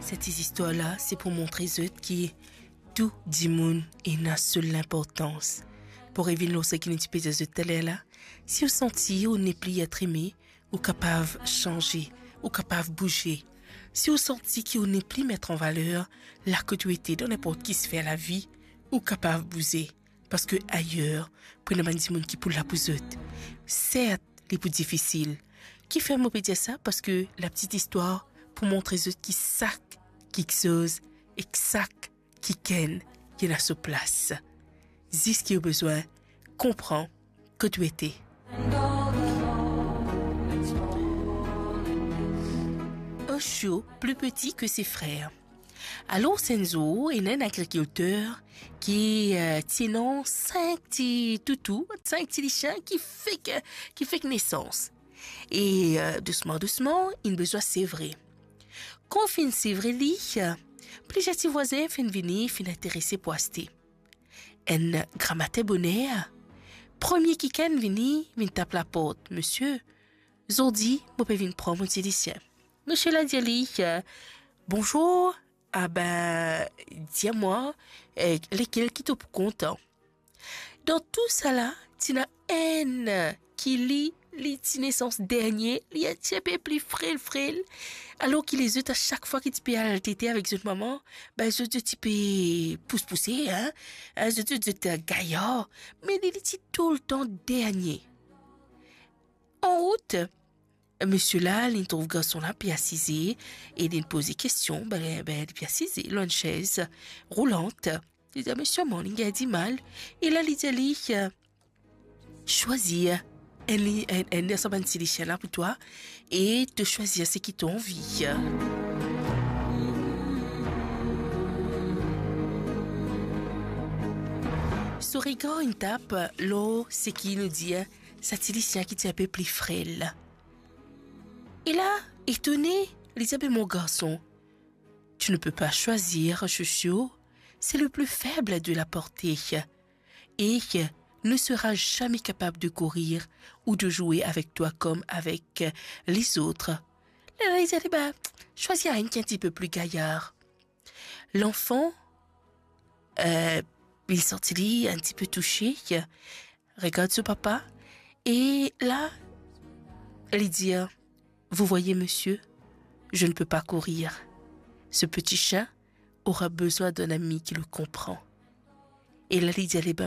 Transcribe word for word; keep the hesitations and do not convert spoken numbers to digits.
Sa ti zistwar la, se pou montre zot ki tou dimoun ena so linportans. Pou revinn lor seki nou ti pe dir zot taler la, si ou santi ou nepli et eme, ou kapav sanze, ou kapav bouze. Si ou santi ki ou nepli met an valer la kot ou ete dan ninport ki sfer lavi, ou kapav bouze. Parski ayer, pou ena bann dimoun ki pou la pou zot. Sert, li pou difisil. Kifer mo pe dir sa? Parski lapti istwar pou montre zot ki sak kiksoz ek sak kikenn ena so plas. Zis ki ou bizin konpran kot ou ete. Un chiot plus petit que ses frères. Alor, enn zour, ena enn agrikilter ki, eh, ti ena sink ti toutou, sink ti lisien ki fek, ki fek nesans. E, eh, dousman, dousman, inn bizin sevre. Kan finn sevre li, eh, plizier ti vwazin finn vini, finn interese pou aste. Enn gramatin boner, premie kikenn vini, vinn tap laport. Misie, zordi, mo pe vinn pran mo ti lisien. Misie la dir li, eh, bonzour, ah ben, dir mwa, eh, lekel ki to pou kontan. Dan tou sala, ti ena enn ki li, li ti nesans dernie, li ti enpe pli frel, frel. Alor ki lezot, a sak fwa ki ti pe al tete avek zot mama, ben zot, zot ti pe pous pouse, hein, hein, zot, zot, zot gayar, me li, li ti toultan dernie. An rout, misie la, li trouv garson la pe asize e li poze kestion, ben, ben, li pe asize lor enn sez roulant. Li dir, misie, mo, li gagn dimal. E la, li dir li, eh, swazir enn li, enn, enn dan sa bann ti lisien la pou twa e to swazir seki to anvi. So regar inn tap lor seki nou dir sa ti lisien ki ti enpe pli frel. E la, etone, li dir, be mon garson, tu ne peux pas choisir un chouchou, c'est le plus faible de la portée. Et ne sera jamais capable de courir ou de jouer avec toi comme avec les autres. Lerla li dir, be, swazir enn ki enn tipe pli gayar. Lanfan, eh, li santi li enn tipe touse, regard so papa, e la, li dir, vous voyez, monsieur, je ne peux pas courir. Ce petit chien aura besoin d'un ami qui le comprend. E la, li dir, ale, be,